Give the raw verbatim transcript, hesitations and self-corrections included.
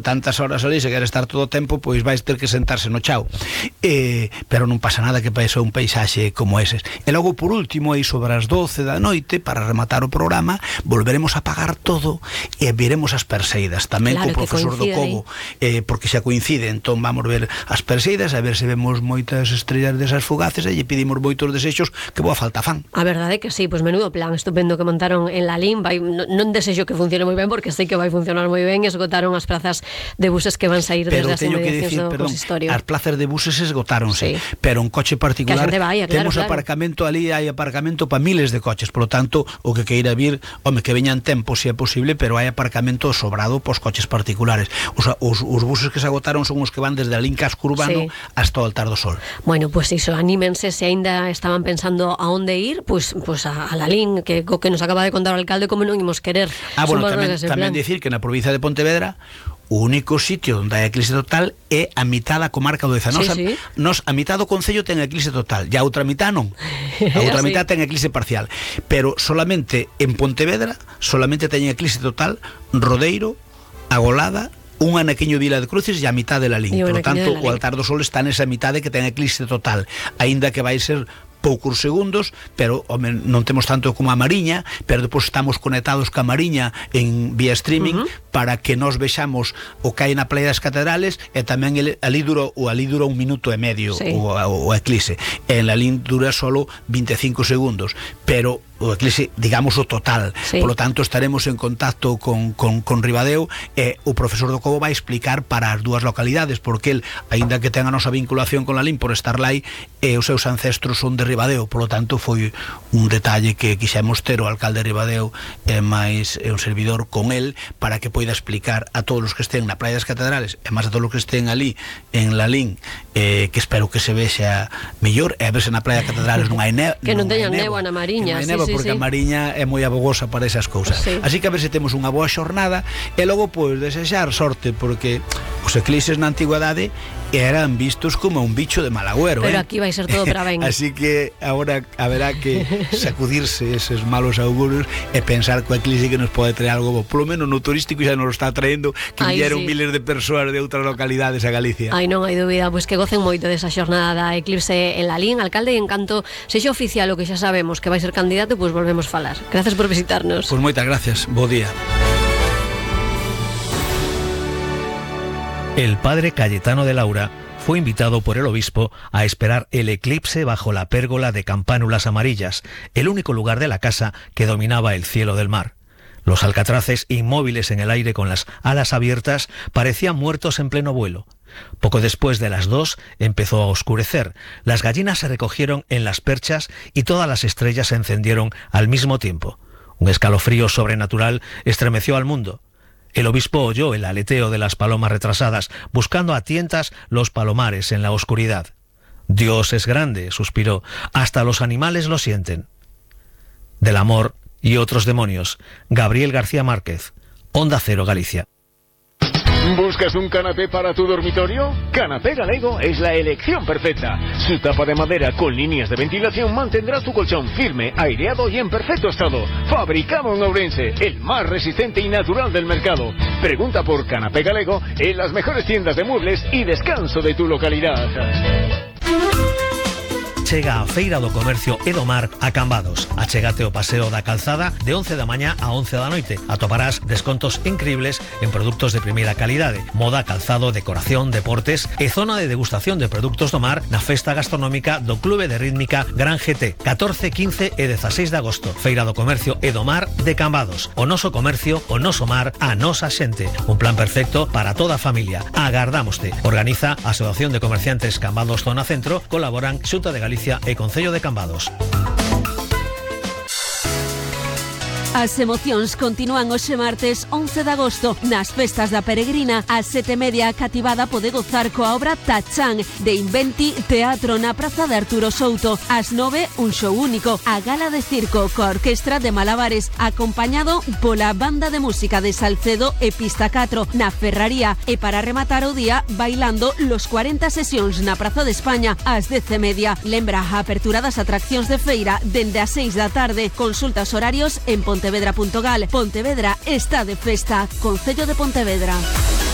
tantas horas ali, se quer estar todo o tempo, pois vais ter que sentarse no chao. Eh, pero non pasa nada que paese un paisaxe como eses. E logo, por último, aí sobre as doce da noite, para rematar o programa, volveremos a apagar todo e veremos as Perseidas, tamén claro, co profesor do Cobo, eh, porque xa coincide, entón vamos ver as Perseidas, a ver se vemos moitas estrellas desas fugaces e lle pedimos moitos desexos que boa falta fan. A verdade é que sí, pois menudo plan estupendo que montaron en Lalín. Vai, non, non desexo que funcione moi ben, porque sei que vai funcionar moi ben. Esgotaron as plazas de buses que van sair pero desde as inmediacións decir, do perdón, consistorio. As plazas de buses esgotáronse, sí. Pero un coche particular vaya, claro, temos claro. aparcamento ali, hai aparcamento para miles de coches, por lo tanto, o que queira vir, home, que veñan tempo se é posible, pero hai aparcamento sobrado pos coches particulares. Os, os, os buses que se agotaron son os que van desde a Lín Casco Urbano, sí, hasta o Altar do Sol. Bueno, pues iso, anímense, se aínda estaban pensando a onde ir, pues, pues a, a Lalín, que co que nos acaba de contar o alcalde, como non imos querer. Ah, bueno, tamén, tamén dicir que na provincia de Pontevedra o único sitio onde hai eclipse total é a mitad da comarca do Deza. Nos, sí, sí. Nos, a mitad do concello ten eclipse total, e a outra mitad non. A outra sí. mitad ten eclipse parcial. Pero solamente en Pontevedra, solamente ten eclipse total Rodeiro, Agolada, un anaquiño Vila de Cruces e a mitad de Lalín. Por lo tanto, o Altar do Sol está nesa mitade que ten eclipse total, aínda que vai ser poucos segundos, pero home, non temos tanto como a Mariña, pero depois estamos conectados ca Mariña en vía streaming, uh-huh, para que nos vexamos o que hai na Playa das Catedrales, e tamén el, ali dura, o ali dura un minuto e medio, sí, o, o, o eclipse. En Lalín dura solo veinticinco segundos, pero o eclipse, digamos, o total. Sí. Por lo tanto, estaremos en contacto con, con, con Ribadeo, e o profesor do Cobo vai explicar para as dúas localidades, porque el, aínda que ten a nosa vinculación con Lalín por estar lá, e os seus ancestros son de Ribadeo, por lo tanto, foi un detalle que quixemos ter o alcalde de Ribadeo e máis e un servidor con el, para que poida explicar a todos os que estén na Playa das Catedrales, e máis a todos os que estén ali en Lalín, eh, que espero que se vexa mellor, e a verse na Playa das Catedrales non hai neva, que non, non teñan néboa na Mariña, sí, sí, porque sí, a Mariña é moi abogosa para esas cousas, sí. Así que a ver se temos unha boa xornada, e logo pois desexar sorte, porque os eclipses na antigüedade eran vistos como un bicho de mal agüero, pero eh? aquí vai ser todo para ben. Así que agora haberá que sacudirse eses malos augurios e pensar que o eclipse que nos pode traer algo bo, polo menos no turístico xa nos está traendo, que vieron sí. miles de persoas de outras localidades a Galicia. Ai, non hai dúbida, pois que gocen moito desa xornada da eclipse en Lalín. Alcalde, en canto sexa oficial o que xa sabemos que vai ser candidato, pois volvemos falar. Gracias por visitarnos. Pois moitas gracias, bo día. El padre Cayetano de Laura fue invitado por el obispo a esperar el eclipse bajo la pérgola de campánulas amarillas, el único lugar de la casa que dominaba el cielo del mar. Los alcatraces, inmóviles en el aire con las alas abiertas, parecían muertos en pleno vuelo. Poco después de las dos empezó a oscurecer, las gallinas se recogieron en las perchas y todas las estrellas se encendieron al mismo tiempo. Un escalofrío sobrenatural estremeció al mundo. El obispo oyó el aleteo de las palomas retrasadas, buscando a tientas los palomares en la oscuridad. Dios es grande, suspiró, hasta los animales lo sienten. Del amor y otros demonios, Gabriel García Márquez, Onda Cero, Galicia. ¿Buscas un canapé para tu dormitorio? Canapé Galego es la elección perfecta. Su tapa de madera con líneas de ventilación mantendrá tu colchón firme, aireado y en perfecto estado. Fabricado en Ourense, el más resistente y natural del mercado. Pregunta por Canapé Galego en las mejores tiendas de muebles y descanso de tu localidad. Chega a Feira do Comercio Edomar a Cambados. Achégate o paseo da calzada de once da mañá a once da noite. Atoparás descontos increíbles en productos de primeira calidade, moda, calzado, decoración, deportes e zona de degustación de produtos do mar na festa gastronómica do Clube de Rítmica Gran G T, catorce, quince e dezaseis de agosto. Feira do Comercio Edomar de Cambados. O noso comercio, o noso mar, a nosa xente. Un plan perfecto para toda a familia. Agardámoste. Organiza a Asociación de Comerciantes Cambados Zona Centro. Colaboran Xunta de Galicia e Concello de Cambados. As emocións continúan hoxe martes once de agosto nas festas da Peregrina. A sete e media cativada pode gozar coa obra Tachán de Inventi Teatro na Praza de Arturo Souto. Ás nove, un show único, a gala de circo coa orquestra de Malabares, acompañado pola banda de música de Salcedo e Pista catro na Ferraría, e para rematar o día bailando los cuarenta sesións na Praza de España ás dez e media. Lembra a apertura das atraccións de feira dende as seis da tarde. Consulta os horarios en Pontevedra punto gal. Pontevedra está de festa. Concello de Pontevedra.